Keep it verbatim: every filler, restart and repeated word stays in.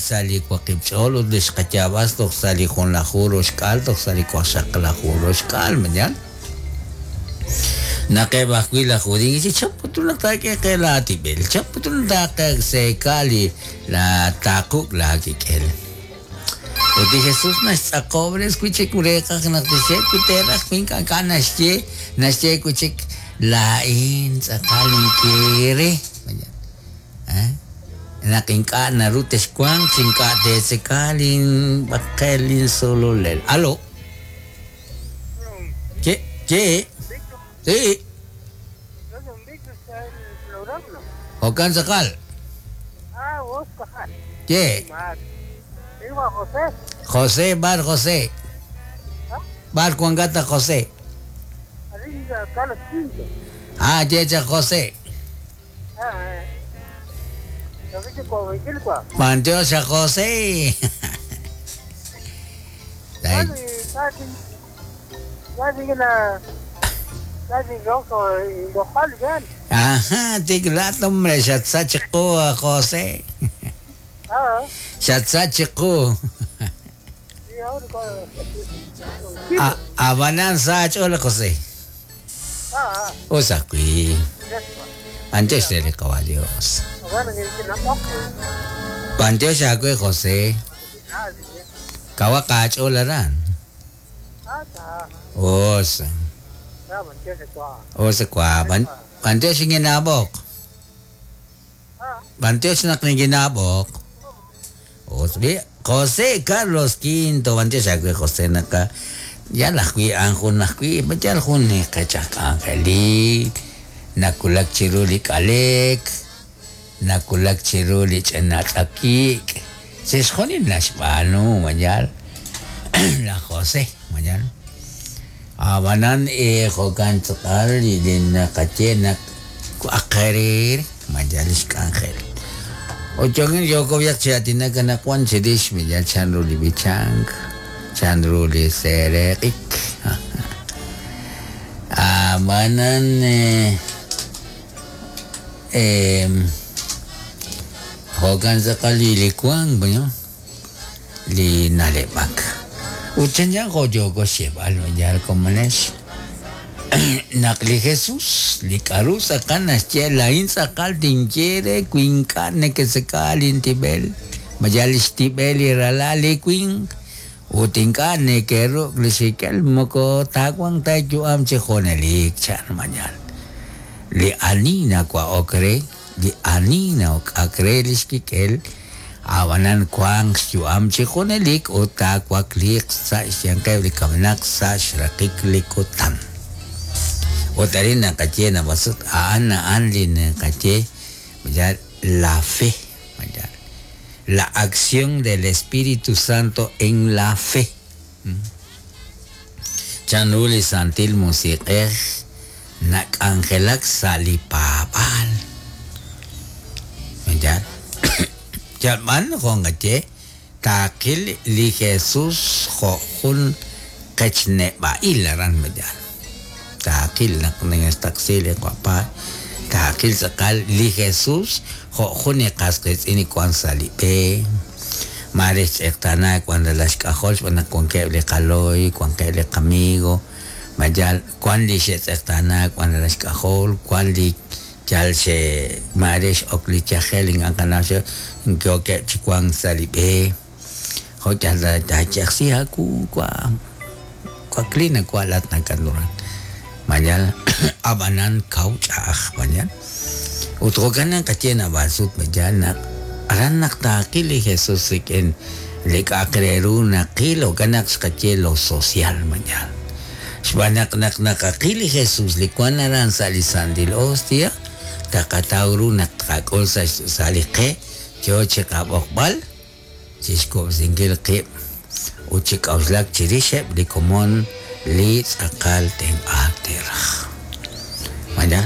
sa' li waqib' ch'ool ut li xqayaab'as toj sa' li junlaju roxk'aal toj sa' li waqxaqlaju roxk'aal mañan naq eb' ajwi' laj judiiy chi chap putun naq taak'e qe laatib'el chap putun naq taaqe li la taaquk' laakik'el ut li Jesús naxtz'aqob'res wi' chik reeqaj naq tixye wi teeraj wi ink'a' ink'a' naxye naxye wi' chik laa'in tz'aqal inkere ¿Eh? Naq ink'a' naru texwanq chi ink'a' teetzeka linb'aqel linsololel. Aló. ¿Qué? ¿Qué? Sí. Jo'kan tz'aqal. Ah, vos, ¿Qué? Digo a José. José Bar José. Bar Juan Gata José. Arriba, Carlos Quinto. Ah, Yecha José. Ah, eh. Lo viste con Vigilqua. Mantiosa José. Ay, Bueno, y casi, casi la, casi rojo y lojal, bien. Ajá, tiglat hombre, xatsachiqu José. Ah, Xatsachiqu. sí, ahora con. A Abanan sach hola José. Ah, ah, Osaqui. eso. Antes de caballos. Bueno, que que no toque. Pantiosa José. Ah, sí. Kawakach olaran. Ah, está. Os. Ah, mantiene qua. Os kwa. Ban Pantiosa ginabok. Ah, Pantiosa nak ni ginabok. Os bi José Carlos Quinto Pantiosa José naka yal ajwi' an jun ajwi' yal jun qechaj k'anjelik nakulak chiru li k'alek nakulak chiru li ch'inatz'akik chixjunil naxb'aanu mayal la José mayal abanan eh jo'kan tz'aqal li naqaye naq aqerir mayal ixk'anjel Ochongin yokobiak chiatinaka nakuan chirix mayal chanru li bichank chanru li sereqik abanan eh, eh, jo'kan tz'aqal li likuan bueno li naleb'ak ut chanchan jo' yoko xyeeb'al mayal komonex naq li Jesús li k'aru tz'aqal naxye laa'in tz'aqal tinye wi ink'a' neketzeka lintib'el mayal lix tib'el li ralal li winq ut ink'a' nekeruk' li xikel moko taawanq ta yu'am chi junelik chan mayal li ani nawa'ok re li ani nawk'ak re lix kik'el abanan wanq xyu'am chi junelik ut taawakliiq sa' xyanqeb' li kamenaq sa' xraqik li kutan ut arin naqaye nab'asut a'an a'an li naqaye mayal la fe mayal la acción del Espíritu Santo en la fe chanru li Santil Musiq'ej nak'anjelak sa' li paab'aal mayal yalb'an jo'nqaye taaqil li Jesús jo' jun qechneb'a'il aran mayal taaqil naq nextaqsi li qapá taaqil tz'aqal li Jesús jo' jun qas qiitz'in kuan sa' li b'e mare xtz'eqtaana kuan ralax k'ajol xb'aan naq wankeb' li qaloy wankeb' li qamigo mayal kuan li xe'tz'eqtaana kuan ralax k'ajol kuan li yal xe mare x'ok li yajel ink'a' qanaw yookeb' chi wank sa' li b'e jo' yal taayajsi aawu kwa kwaklina kwa laat nakanuran mayal abanan kaw ch'a'aj mayal ut jo'kan naqaye nab'asut mayal naq aran naq taaqil li Jesús rik'in li k'a'aq re ru naqil jo'kan naq xqaye lo social mayal xb'aan naq naq naqaqil li Jesús li wan aran sa' li Santil Hostia taqataw ru naq tqak'ul sa' sa' li qe yo chi qab'oqb'al chixkub'sinkil qib' ut chi k'auxlak chirixeb' li komon li tz'aqal tenq'aak teeraj mayal.